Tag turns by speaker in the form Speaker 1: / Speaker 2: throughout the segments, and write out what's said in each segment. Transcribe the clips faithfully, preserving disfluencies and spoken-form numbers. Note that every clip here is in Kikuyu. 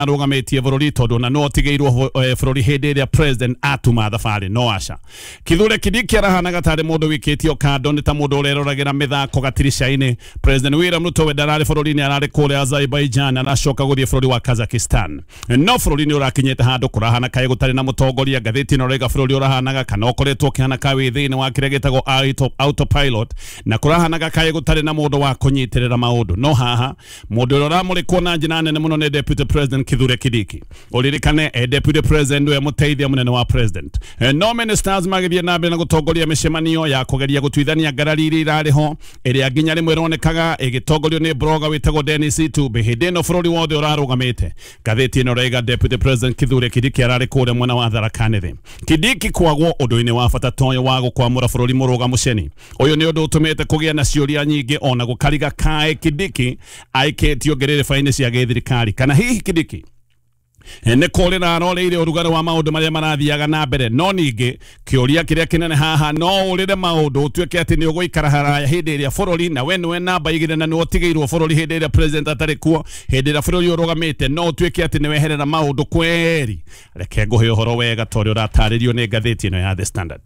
Speaker 1: Arũgamĩtie bũrũri tondũ na no otigĩirwo bũrũri hĩndĩ ĩrĩa president atuma thabarĩ no aca. Kithure Kindiki arahanaga tarĩ mũndũ wĩkĩtio kando nĩ ta mũndũ ũreroragĩra mĩthako gatirica-inĩ. President William Ruto we ndararĩ bũrũri-inĩ, ararĩ kũrĩa Azerbaijan, aracoka gũthiĩ bũrũri wa Kazakhstan. No bũrũri nĩ ũrakinyĩte handũ kũrahana kaĩ gũtarĩ na mũtongoria. Ngathĩti ĩno ĩrauga bũrũri ũrahanaga kana ũkoretwo ũkĩhana ka wĩ thĩinĩ wa kĩrĩa gĩtagwo autopilot, na kũrahanaga kaĩ gũtarĩ na mũndũ wa kũnyitĩrĩra maũndũ. No haha mũndũ ũrĩa ũramũrĩkwo na njĩra nene mũno nĩ Deputy President Kithure Kindiki. Ũririkane eh, Deputy President nĩwe mũteithia mũnene wa president. Eh, no ministers magĩthiĩ na mbere na gũtongoria mĩcemanio ya kũgeria gũtuithania ngarari iria irarĩ ho, ĩrĩa nginya rĩmwe ĩronekaga ĩgĩtongorio nĩ blogger wĩtagwo Dennis Itumbi. Hĩndĩ ĩno bũrũri wothe ũrarũgamĩte. Ngathĩti ĩno ĩrauga Deputy President Kithure Kindiki ararĩ kũrĩa mwena wa Tharaka Nithi. Kindiki kwagwo ũndũ-inĩ wa bata ta ũyũ wa gũkwamũra bũrũri mũrũgamu ceni. Ũyũ nĩ ũndũ ũtũmĩte kũgĩa na ciũria nyingĩ ona gũkariga kaĩ Kindiki aikĩtio ngerereba-inĩ cia gĩthirikari, kana hihi Kindiki nĩ kũrĩra aroreire ũrugarĩ wa maũndũ marĩa marathiaga na mbere. No ningĩ kĩũria kĩrĩa kĩnene haha, no ũrĩre maũndũ ũtuĩke atĩ nĩ ũgũikara haraya hĩndĩ ĩrĩa bũrũri na we nĩwe namba igĩrĩ na nĩwe ũtigĩirwo bũrũri hĩndĩ ĩrĩa president atarĩ kuo, hĩndĩ ĩrĩa bũrũri ũrũgamĩte, no ũtuĩke atĩ nĩ weherera maũndũ kweri. Reke ngũhe ũhoro wega ta ũrĩa ũratarĩrio nĩ ngathĩti ĩno ya The Standard.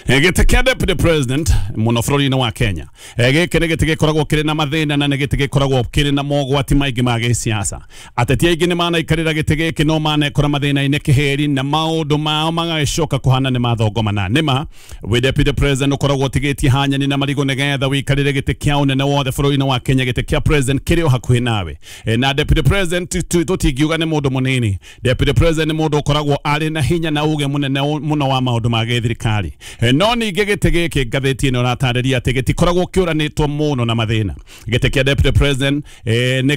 Speaker 1: Gĩtĩ kĩa Deputy President mũno bũrũri-inĩ wa Kenya, gĩkĩ nĩ gĩtĩ gĩkoragwo kĩrĩ na mathĩna na nĩ gĩtĩ gĩkoragwo kĩrĩ na mogwati maingĩ ma gĩsiasa. Ateti aingĩ nĩ manaikarĩra gĩtĩ gĩkĩ no manekora mathĩna-inĩ kĩhĩri na maũndũ mao magagĩcoka kũhana nĩ mathongomana. Nĩma wĩ Deputy President ũkoragwo ũtigĩtie hanyani na marigũ nĩgetha wĩikarĩre gĩtĩ kĩa ũnene wothe bũrũri-inĩ wa Kenya. Gĩtĩ kĩa president kĩrĩ o hakuhĩ nawe, na Deputy President tũtingiuga nĩ mũndũ mũnini. Deputy President nĩ mũndũ ũkoragwo arĩ na hinya na uge mũnene mũno wa maũndũ ma gĩthirikari. No ningĩ gĩtĩ gĩkĩ ngathĩti ĩno ĩratarĩria atĩ gĩtikoragwo kĩũranĩtwo mũno na mathĩna. Gĩtĩ kĩa Deputy President nĩ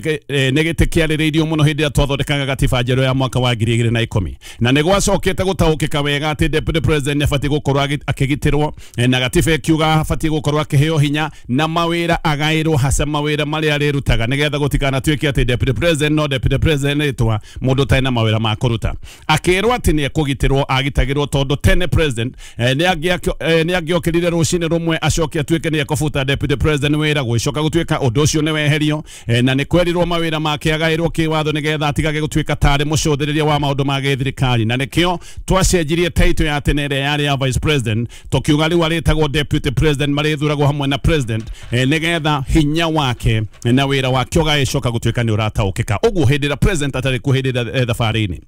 Speaker 1: gĩtĩ kĩarĩrĩirio mũno hĩndĩ ĩrĩa twathondekaga gatiba njerũ ya mwaka wa ngiri igĩrĩ na ikũmi, na nĩ gwacokete gũtaũkĩka wega atĩ Deputy President nĩ abatiĩ gũkorwo akĩgitĩrwo, na gatiba ĩkiuga abatiĩ gũkorwo akĩheo hinya na mawĩra agaĩrwo haca mawĩra marĩa arĩrutaga, nĩgetha gũtikanatuĩke atĩ Deputy President no Deputy President rĩtwa mũndũ ũtarĩ na mawĩra ma kũruta. Akĩrwo atĩ nĩ ekũgitĩrwo, agitagĩrwo tondũ tene president nĩ nĩ angĩokĩrire rũcinĩ rũmwe acoke atuĩke nĩ ekũbuta Deputy President wĩra, gũgĩcoka gũtuĩka ũndũ ũcio nĩ weherio, na nĩ kwerirwo mawĩra make agaĩrwo kĩwatho nĩgetha atigage gũtuĩka tarĩ mũcũthĩrĩria wa maũndũ ma gĩthirikari. Na nĩkĩo twacenjirie title ya tene ĩrĩa yarĩ ya Vice President, tũkiuga rĩu arĩtagwo Deputy President, marĩthuragwo hamwe na president, nĩgetha hinya wake na wĩra wake ũgagĩcoka gũtuĩka nĩ ũrataũkĩka. Ũguo hĩndĩ ĩrĩa president atarĩ kuo hĩndĩ ĩrĩa thabarĩ-inĩ,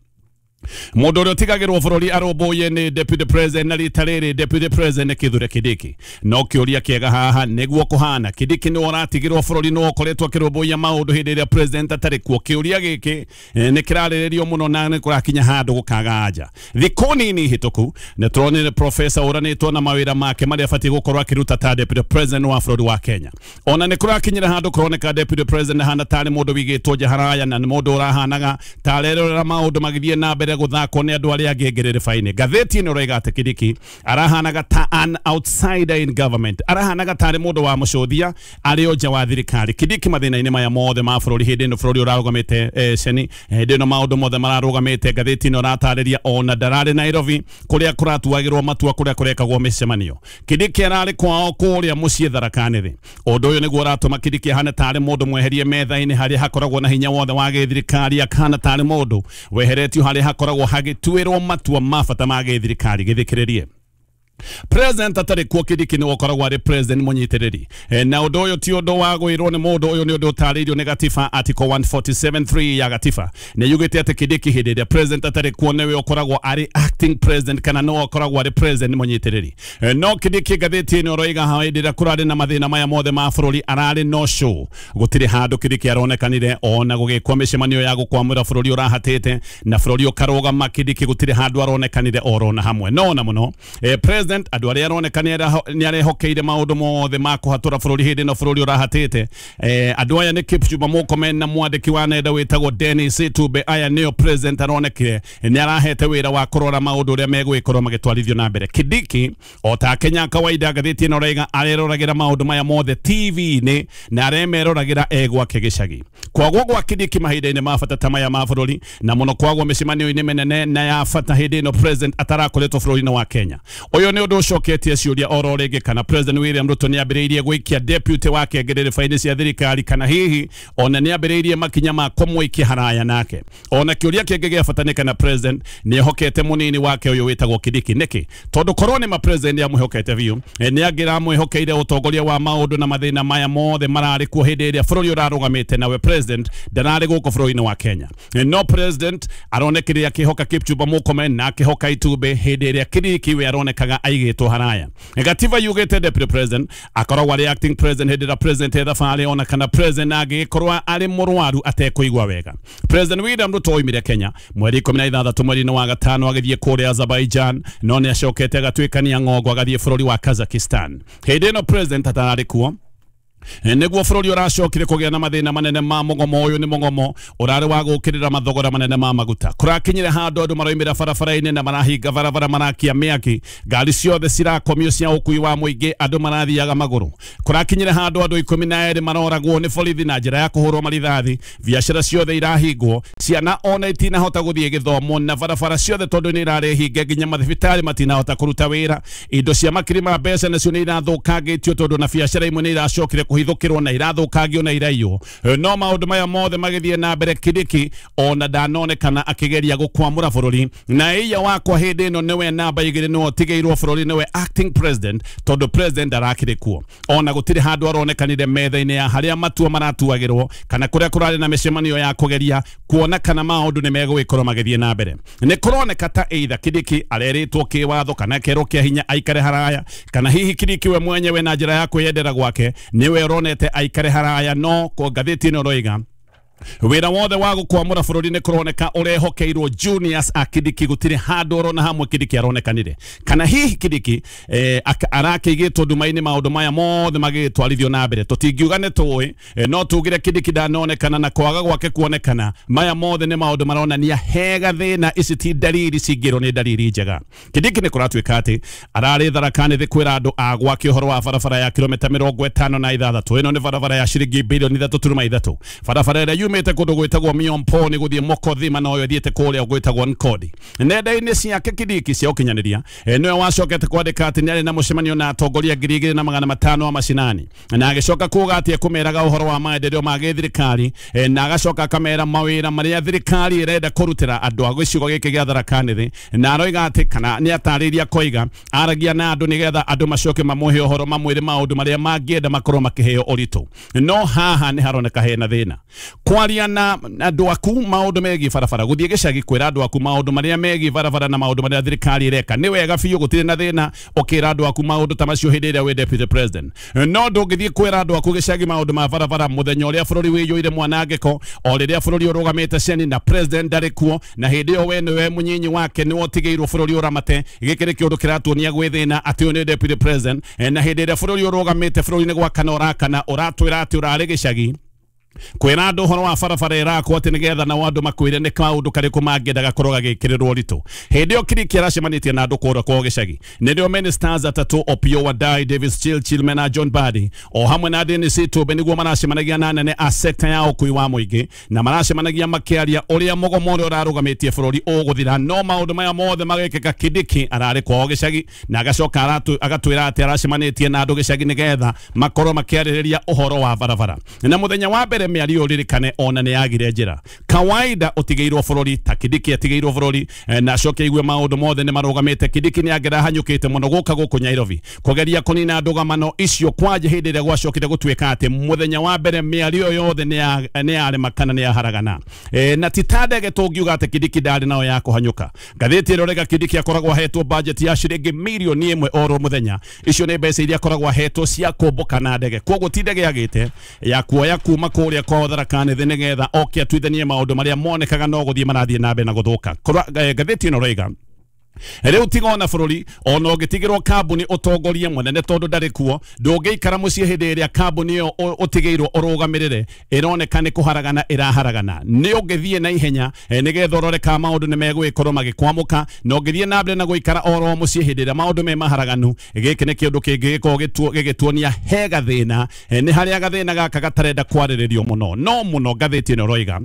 Speaker 1: mũndũ ũrĩa ũtigagĩrwo bũrũri arũmbũiye nĩ Deputy President, na rita rĩrĩ Deputy President nĩ Kithure Kindiki. No kĩũria kĩega haha nĩguo kũhana, Kindiki nĩwe ũratigĩrwo bũrũri, nĩwe ũkoretwo akĩrũmbũiya maũndũ hĩndĩ ĩrĩa president atarĩ kuo. Kĩũria gĩkĩ nĩ kĩrarĩrĩrio mũno na nĩ kũrakinya handũ gũkaga anja. Thikũ nini hĩtũku nĩ tũronire professor ũranĩtwo na mawĩra make marĩa abatiĩ gũkorwo akĩruta ta Deputy President wa bũrũri wa Kenya. Ona nĩ kũrakinyĩra handũ kũroneka Deputy President ahana tarĩ mũndũ wĩigĩtwo nja haraya na nĩ mũndũ ũrahanaga tarerorera maũndũ magĩthiĩ na mbere gũthakwo nĩ andũ arĩa angĩ ngerereba-inĩ. Ngathĩti ĩno ĩroiga atĩ Kindiki arahanaga ta an outsider in government, arahanaga tarĩ mũndũ wa mũcũthia arĩ o nja wa thirikari. Kindiki mathĩna-inĩ maya mothe ma bũrũri hĩndĩ ĩno bũrũri ũrarũgamĩte eh, ceni hĩndĩ ĩno maũndũ mothe mararũgamĩte, ngathĩti ĩno ĩratarĩria ona ndararĩ Nairobi kũrĩa kũratuagĩrwo matua, kũrĩa kũrekagwo mĩcemanio. Kindiki ararĩ kwao kũrĩa mũciĩ Tharaka Nithi. Ũndũ ũyũ nĩguo ũratũma Kindiki ahane tarĩ mũndũ mweherie metha-inĩ harĩa hakoragwo na hinya wothe wa gĩthirikari, akahana tarĩ mũndũ weheretio harĩa hakoragwo hagĩtuĩrwo matua ma bata ma gĩthirikari. Gĩthikĩrĩrie president atarĩ kuo, Kindiki nĩwe ũkoragwo arĩ president mũnyitĩrĩri, na ũndũ ũyũ ti ũndũ wa gwĩrwo nĩ mũndũ, ũyũ nĩ ũndũ ũtarĩirio nĩ gatiba. Article one forty-seven three ya gatiba nĩ yugĩte atĩ Kindiki hĩndĩ ĩrĩa president atarĩ kuo nĩwe ũkoragwo arĩ acting president, kana nĩwe ũkoragwo arĩ president mũnyitĩrĩri. No Kindiki ngathĩti ĩno ĩroiga hĩndĩ ĩrĩa kũrarĩ na mathĩna maya mothe ma bũrũri ararĩ no show, gũtirĩ handũ Kindiki aronekanire ona gũgĩkwo mĩcemanio ya gũkwamũra bũrũri ũrahatĩte na bũrũri ũkarũgama. Kindiki gũtirĩ handũ aronekanire orona hamwe. No na mũno president andũ arĩa aroneka nĩ arehokeire maũndũ mothe ma kũhatũra bũrũri hĩndĩ ĩno bũrũri ũrahatĩte, andũ aya nĩ Kipchumba Murkomen na mwandĩki wa nenda wĩtagwo Dennis Itumbi. Aya nĩo president aronekire nĩ arahete wĩra wa kũrora maũndũ ũrĩa megũgĩkorwo magĩtwarithio na mbere. Kindiki o ta Kenya kawaida, ngathĩti ĩno ĩroiga areroragĩra maũndũ maya mothe T V-inĩ na aremeroragĩra e gwake gĩcagi. Kwagwo gwa Kindiki mahinda-inĩ ma bata ta maya ma bũrũri, na mũno kwagwo mĩcemanio-inĩ mĩnene na ya bata hĩndĩ ĩno president atarakoretwo bũrũri-inĩ wa Kenya. Ũyũ nĩ Ũyũ nĩ ũndũ ũcoketie ciũria oro rĩngĩ kana President William Ruto nĩ ambĩrĩirie gwĩikia deputy wake ngerereba-inĩ cia thirikari, kana hihi ona nĩ ambĩrĩirie makinya ma kũmũikia haraya nake. Ona kĩũria kĩngĩ gĩa bata nĩ kana president nĩ ehokete mũnini wake ũyũ wĩtagwo Kindiki. Nĩkĩ? Tondũ korwo nĩ ma president nĩ amwĩhokete biũ, nĩ angĩramwĩhokeire ũtongoria wa maũndũ na mathĩna maya mothe mararĩ kuo hĩndĩ ĩrĩa bũrũri ũrarũgamĩte, nawe president ndararĩ gũkũ bũrũri-inĩ wa Kenya. No president aronekire akĩhoka Kipchumba Murkomen na akĩhoka Itumbĩ hĩndĩ ĩrĩa Kindiki we aronekaga aigĩtwo haraya. Gatiba yugĩte deputy president akoragwo arĩ acting president hĩndĩ ĩrĩa president e thabarĩ, ona kana president angĩgĩkorwo arĩ mũrwaru atekũigua wega. President William Ruto oimire Kenya mweri ikũmi na ithathatũ mweri-inĩ wa gatano agĩthiĩ kũrĩa Azerbaijan, no nĩ acokete agatuĩkania ng'ongo agathiĩ bũrũri wa Kazakhstan. Hĩndĩ ĩno president atararĩ kuo nĩguo bũrũri ũracokire kũgĩa na mathĩna manene ma mũgomo. Ũyũ nĩ mũgomo ũrarĩ wa gũkĩrĩra mathogora manene ma maguta. Kũrakinyire handũ andũ maroimĩra barabara-inĩ na marahinga barabara, marakia mĩaki, ngari ciothe cirakomio cia ũkui wa mũingĩ, andũ marathiaga magũrũ. Kũrakinyire handũ andũ ikũmi na erĩ maroragwo nĩ borithi na njĩra ya kũhũrwo marithathi, biacara ciothe irahingwo, ciana ona itinahota gũthiĩ gĩthomo, na barabara ciothe tondũ nĩ irarĩ hinge, nginya mathibitarĩ matinahota kũruta wĩra. Indo cia makiri ma mbeca nacio nĩ irathũkangĩtio tondũ na biacara imwe nĩ iracokire kũhithũkĩrwo na irathũkangio na iraiywo. No maũndũ maya mothe magĩthiĩ na mbere, Kindiki ona ndanonekana akĩgeria gũkwamũra bũrũri, na ĩya wakwa hĩndĩ ĩno nĩwe namba igĩrĩ, nĩwe ũtigĩirwo bũrũri, nĩwe acting president tondũ president ndarakĩrĩ kuo. Ona gũtirĩ handũ aronekanire metha-inĩ ya harĩa matua maratuagĩrwo kana kũrĩa kũrarĩ na mĩcemanio ya kũgeria kuona kana maũndũ nĩ megũgĩkorwo magĩthiĩ na mbere. Nĩ kũroneka ta either Kindiki arerĩtwo kĩwatho kana akerwo kĩa hinya aikare haraya, kana hihi Kindiki we mwenyewe na njĩra ya kwĩyendera gwake nĩwe ũronete aikare haraya. No ko ngathĩti ĩno ĩroiga wĩra wothe wa gũkwamũra bũrũri nĩ kũroneka ũrehokeirwo Junius a Kindiki, gũtirĩ handũ orona hamwe Kindiki aronekanire. Kana hihi Kindiki eh, arakĩigĩtwo nduma-inĩ maũndũ maya mothe magĩtwarithio na mbere. Tũtingiuga nĩ tũĩ, eh, no tugire Kindiki ndanonekana na kwaga gwake kuonekana, maya mothe nĩ maũndũ maronania hega thĩna, ici ti ndariri cingĩrwo nĩ ndariri njega. Kindiki nĩ kũratuĩka atĩ ararĩ Tharaka Nithi kwĩra andũ a gwake ũhoro wa barabara ya kilomita mĩrongo ĩtano na ithathatũ. Ĩno nĩ barabara ya ciringi bilioni ithatũ turuma ithatũ, barabara ĩrĩa yumĩte kũndũ gwĩtagwo Miomponi gũthiĩ Mokothima, na ũyũ ĩthiĩte kũrĩa gwĩtagwo Nkodi. Nenda-inĩ ciake Kindiki cia ũkinyanĩria nĩwe wacokete kwandĩka atĩ nĩarĩ na mũcemanio na atongoria ngiri igĩrĩ na magana matano a macinani, na agĩcoka kuga atĩ ekũmeraga ũhoro wa maendeleo ma gĩthirikari, na agacoka akamera mawĩra marĩa thirikari ĩrenda kũrutĩra andũ a gĩcigo gĩkĩ gĩa Tharaka Nithi, na aroiga atĩ kana nĩ atarĩirie akoiga aragia na andũ nĩgetha andũ macoke mamũhe ũhoro mamwĩre maũndũ marĩa mangĩenda makorwo makĩheo ũritũ. No haha nĩ haroneka hena thĩna kwaria na andũ aku maũndũ megiĩ barabara, gũthiĩ gĩcagi kwĩra andũ aku maũndũ marĩa megiĩ barabara na maũndũ marĩa thirikari ĩreka nĩ wega biũ, gũtirĩ na thĩna ũkĩra andũ aku maũndũ ta macio hĩndĩ ĩrĩa wĩ deputy president. No ndũngĩthiĩ kwĩra andũ aku gĩcagi maũndũ ma barabara mũthenya ũrĩa bũrũri wĩiyũire mwanangĩko, o rĩrĩa bũrũri ũrũgamĩte ceni na president ndarĩ kuo, na hĩndĩ ĩyo we nĩwe mũnyinyi wake nĩwe ũtigĩirwo bũrũri ũramate. Gĩkĩ nĩ kĩũndũ kĩratuonia gwĩ thĩna atĩ ũyũ nĩ deputy president, na hĩndĩ ĩrĩa bũrũri ũrũgamĩte bũrũri-inĩ gwakana ũrakana, ũratwĩra atĩ ũrarĩ gĩcagi kwĩra andũ ũhoro wa barabara ĩrakwo atĩ nĩgetha nao andũ makwĩre nĩ kaũndũ karĩkũ mangĩenda gakorwo gagĩkĩrĩrwo ũritũ. Hĩndĩ ĩyo Kindiki aracemanĩtie na andũ kũrĩa kwao gĩcagi, nĩrĩo ministers atatũ Opiyo Wandayi, Davis Chirchir na John Mbadi o hamwe na Dennis Itumbi nĩguo maracemanagia na anene a sekta ya ũkui wa mũingĩ, na maracemanagia makĩaria ũrĩa mũgomo ũrĩa ũrarũgamĩtie bũrũri ũgũthira. No maũndũ maya mothe magĩkĩka, Kindiki ararĩ kwao gĩcagi na agacoka agatwĩra atĩ aracemanĩtie na andũ gĩcagi nĩgetha makorwo makĩarĩrĩria ũhoro wa barabara. Na mũthenya wa mbere mĩario ũririkane ona nĩ yagire njĩra kawaida ũtigĩirwo bũrũri ta Kindiki atigĩirwo bũrũri, na acoke igue maũndũ mothe nĩ marũgamĩte. Kindiki nĩ angĩrahanyũkĩte mũno gũka gũkũ Nairobi kũgeria kũnina ndũgamano icio kwanja hĩndĩ ĩrĩa gwacokire gũtuĩka atĩ mũthenya wa mbere mĩario yothe nĩ yarema kana nĩ yaharagana. Na ti ta ndege tũngiuga atĩ Kindiki ndarĩ nayo ya kũhanyũka. Ngathĩti ĩrorega Kindiki akoragwo ahetwo budget ya ciringi mirioni ĩmwe oro mũthenya. Icio nĩ mbeca iria akoragwo ahetwo cia kũmbũka na ndege, koguo ti ndege yagĩte ya kuoya kuma kũrĩa kwao Tharaka Nithi nĩgetha oke atuithanie maũndũ marĩa monekaga no gũthiĩ marathiĩ na mbere na gũthũka. Ngathĩti ĩno ĩroiga rĩu tiga ona bũrũri ona ũngĩtigĩrwo kambuni ũtongorie mũnene tondũ ndarĩ kuo, ndũngĩikara mũciĩ hĩndĩ ĩrĩa kambuni ĩyo ũtigĩirwo ũrũgamĩrĩre ĩroneka nĩ kũharagana ĩraharagana. Nĩ ũngĩthiĩ na ihenya nĩgetha ũrore kana maũndũ nĩ megũgĩkorwo magĩkwamũka, na ũngĩthiĩ na mbere na gũikara oro mũciĩ hĩndĩ ĩrĩa maũndũ me maharaganu, gĩkĩ nĩ kĩũndũ kĩngĩgĩkorwo gĩgĩtuonia he gathĩna, nĩ harĩa gathĩna gaka gatarenda kwarĩrĩrio mũno. No mũno ngathĩti ĩno ĩroiga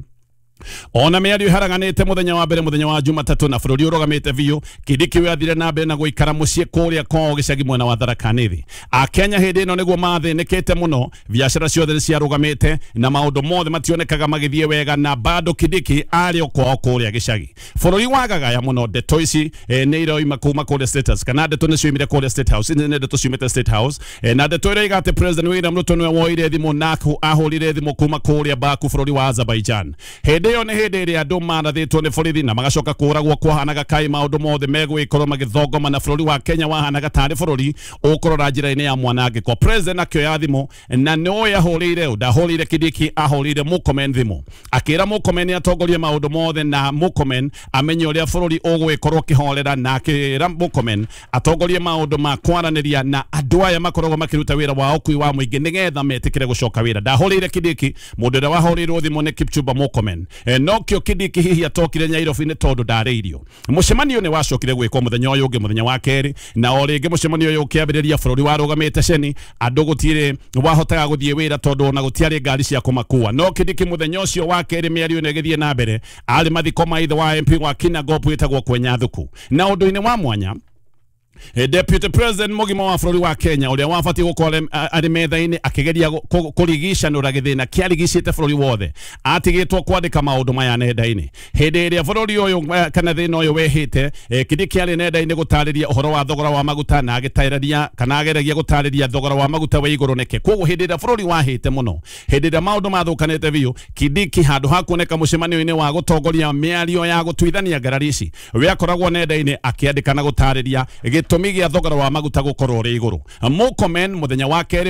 Speaker 1: Ona mĩario ĩharaganĩte mũthenya wa mbere mũthenya wa Jumatatũ na bũrũri ũrũgamĩte biũ, Kindiki we athire na mbere na gũikara mũciĩ kũrĩa kwao gĩcagi mwena wa Tharaka Nithi. Akenya hĩndĩ ĩno nĩguo mathĩnĩkĩte mũno, biacara ciothe nĩ ciarũgamĩte na maũndũ mothe mationekaga magĩthiĩ wega, na bado Kindiki arĩ o kwao kũrĩa gĩcagi. Bũrũri wagagaya mũno, ndeto ici eh, nĩ iroima kuma kũrĩa State House, kana ndeto nĩ cioimire kũrĩa State House, nĩ ndeto ciumĩte State House, eh, na ndeto ĩroiga atĩ President William Ruto nĩwe woire thimũ na ahũrire thimũ kuma kũrĩa Baku bũrũri wa Azerbaijan. Hĩndĩ ĩyo nĩ hĩndĩ ĩrĩa andũ marathĩtwo nĩ borithi na magacoka kũragwo, kwahanaga kaĩ maũndũ mothe megwĩkorwo magĩthongoma na bũrũri wa Kenya wahanaga tarĩ bũrũri ũkũrora njĩra-inĩ ya mwanangĩko. President akĩoya thimũ na nĩoĩ ahũrĩire, ndahũrĩire Kindiki, ahũrĩire Murkomen thimũ, akĩra Murkomen atongorie maũndũ mothe na Murkomen amenye ũrĩa bũrũri ũgwĩkorwo ũkĩhorera, na akĩra Murkomen atongorie maũndũ ma kwaranĩria na andũ aya makoragwo makĩruta wĩra wa ũkui wa mũingĩ nĩgetha metĩkĩre gũcoka wĩra. Ndahũrĩire Kindiki, mũndũ ũrĩa wahũrĩirwo thimũ nĩ Kipchumba Murkomen. E, nokĩo Kindiki hihi atokire Nairobi nĩ tondũ ndarĩirio. Mũcemanio nĩ wacokire gwĩkwo mũthenya ũyũ ũngĩ, mũthenya wa kerĩ, na o rĩngĩ mũcemanio ũyũ ũkĩambĩrĩria bũrũri warũgamĩte ceni, andũ gũtirĩ wahotaga gũthiĩ wĩra tondũ ona gũtiarĩ ngari cia kũmakua. No Kindiki mũthenya ũcio wa kerĩ mĩario ĩno ĩgĩthiĩ na mbere, arĩ mathiko ma ithe wa M P wa Kinangop wĩtagwo Kwenyathuku. Na ũndũ-inĩ wa mwanya, Deputy President mũgima wa bũrũri wa Kenya ũrĩa wabatiĩ gũkorwo arĩ metha-inĩ akĩgeria kũrigicanũra gĩthĩna kĩarigicĩte bũrũri wothe, atigĩtwo kwandĩka maũndũ maya nenda-inĩ. Hĩndĩ ĩrĩa bũrũri ũyũ kana thĩna ũyũ wehĩte, Kindiki arĩ nenda-inĩ gũtarĩria ũhoro wa thogora wa maguta na agĩtarĩria kana ageragia gũtarĩria thogora wa maguta wĩ igũrũ nĩkĩ. Koguo hĩndĩ ĩrĩa bũrũri wahĩte mũno, hĩndĩ ĩrĩa maũndũ mathũkanĩte biũ, Kindiki handũ ha kuoneka mũcemanio-inĩ wa gũtongoria mĩario ya gũtuithania ngarari ici, we akoragwo nenda-inĩ akĩandĩka na gũtarĩria gĩtũmi gĩa thogora wa maguta gũkorwo ũrĩ igũrũ. Murkomen mũthenya wa kerĩ